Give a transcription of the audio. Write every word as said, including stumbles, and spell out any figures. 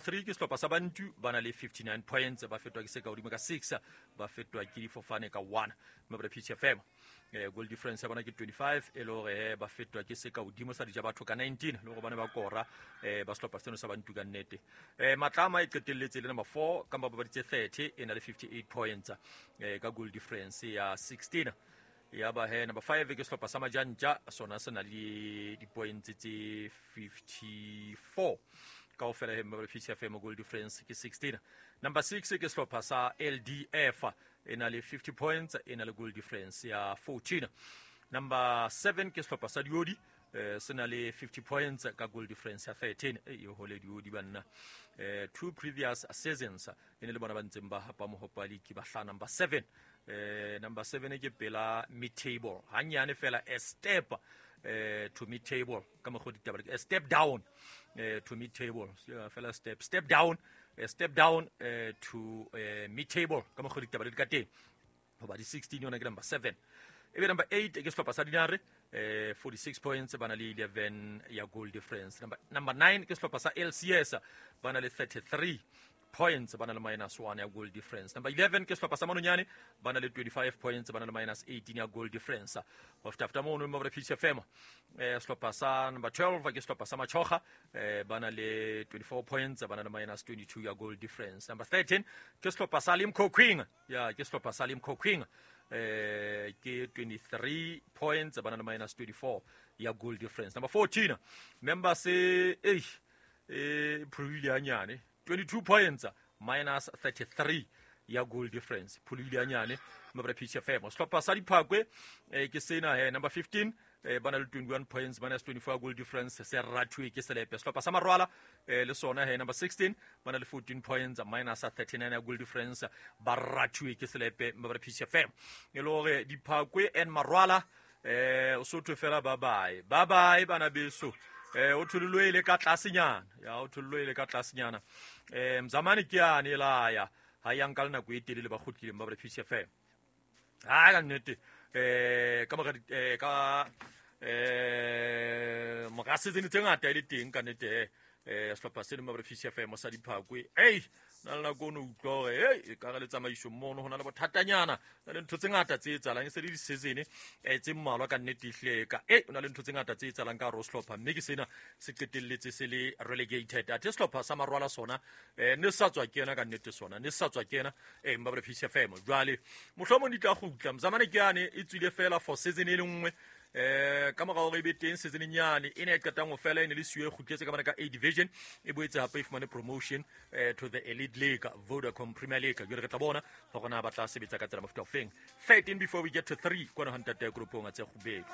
Three ke sehlopha sa Bantu, ba na le fifty-nine points, ba fetwa ke se ka hodimo ka six, ba fetwa ke difofane ka one. Mme ba P H F M, eh, goal difference ya bona ke twenty-five, e le hore eh, ba fetwa ke se ka hodimo sa dija batho ka nineteen, le hore bane ba kora eh, ba sehlopha seno sa Bantu ka nnete. Eh, Matlama e qetelletse le number four ka mabapadi tse thirty, e na le fifty-eight points, eh, ka goal difference ya sixteen. Ya ba he number five ke sehlopha sa Majantja, sona se na le di-points tse fifty-four. Kaofela he mme P C F M goal difference ke sixteen. Number six ke sehlopha sa L D F, e na le fifty points, e na le goal difference ya fourteen. Number seven ke sehlopha sa Diodi, eh, se na le fifty points ka goal difference ya thirteen. E e hole Diodi banna. Eh, two previous seasons e ne le bona ba ntseng ba hapa mohopa league, ba hlaha number seven. Eh, number seven ke pela mid table, hanyane fela a step, eh, to mid table ka mokgwa ditaba, a step down, eh, to mid table, fela step, step down, a step down, eh, to, eh, mid table ka mokgwa ditaba di ka teng. Hoba di sixteen yona ke number seven. Ebe number eight ke sehlopha sa Dinare, eh, forty-six points, ba na le eleven ya goal difference. Number, number nine ke sehlopha sa L C S, ba na le thirty-three points, ba na le minus one ya goal difference. Number eleven ke sehlopha sa Manonyane, ba na le twenty-five points, ba na le minus eighteen ya goal difference. Ho feta feta mono mo re P C F M, eh, sehlopha sa number twelve ke sehlopha sa Machoga, eh, ba na le twenty-four points, ba na le minus twenty-two ya goal difference. Number thirteen ke sehlopha sa Limkokwing, ya ke sehlopha sa Limkokwing, eh, ke twenty-three points, ba na le minus twenty-four ya goal difference. Number fourteen member se, eh, eh, phulohile hanyane, twenty-two points minus thirty-three ya goal difference, phulohile hanyane mabra P C F M. Sehlopha sa Diphakwe, eh, ke sena he number fifteen, eh, ba na le twenty-one points minus twenty-four goal difference, se rathuwe ke Selepe. Sehlopha sa Marwala, eh, le sona he number sixteen, ba na le fourteen points minus thirty-nine ya goal difference, ba rathuwe ke Selepe mabra P C F M. E le hore Diphakwe and Marwala, eh, o sotho fela bye bye, bye bye bana beso. Eh, o thololwe ile ka tlasenyana, ya o thololwe ile ka tlasenyana. Eh, Mzamane ke yane la ya, ha ya nka le nako e telele ba kgutlileng ba P C F M. Ha ka nnete, eh, ka mora di-, eh, ka, eh, mora season tse ngata e le teng ka nnete, eh, sehlopha seno ba P C F M sa Diphakwe. Ei, na le nako o no utlwa hore, ei, e ka re le tsamaiso mono ho na le bothatanyana, na le ntho tse ngata tse etsahalang, e se le di-season, eh, tse mmalwa ka nnete ehlile ka, eh, ho na le ntho tse ngata tse etsahalang ka hare ho sehlopha, mme ke sena se qetelletse se le relegated. Athe sehlopha sa Marwala sona, eh, ne se sa tswa kena ka nnete sona, ne se sa tswa kena, eh, mma ba P C F M. Jwale, mohlomong di tla kgutla, Mzamane ke yane e tswile fela for season e le nngwe, eh, ka mora hore e be teng season nyane e ne e qetang ho fela, e ne le siyo e kgutletse ka mane ka A division, e boetse hape e fumane promotion, eh, to the Elite League, Vodacom Premier League. Jwale re tla bona hore na ba tla sebetsa ka tsela mofuta ofeng. thirteen before we get to three, kwana ho ntate ya Koropong a tse kgubedu.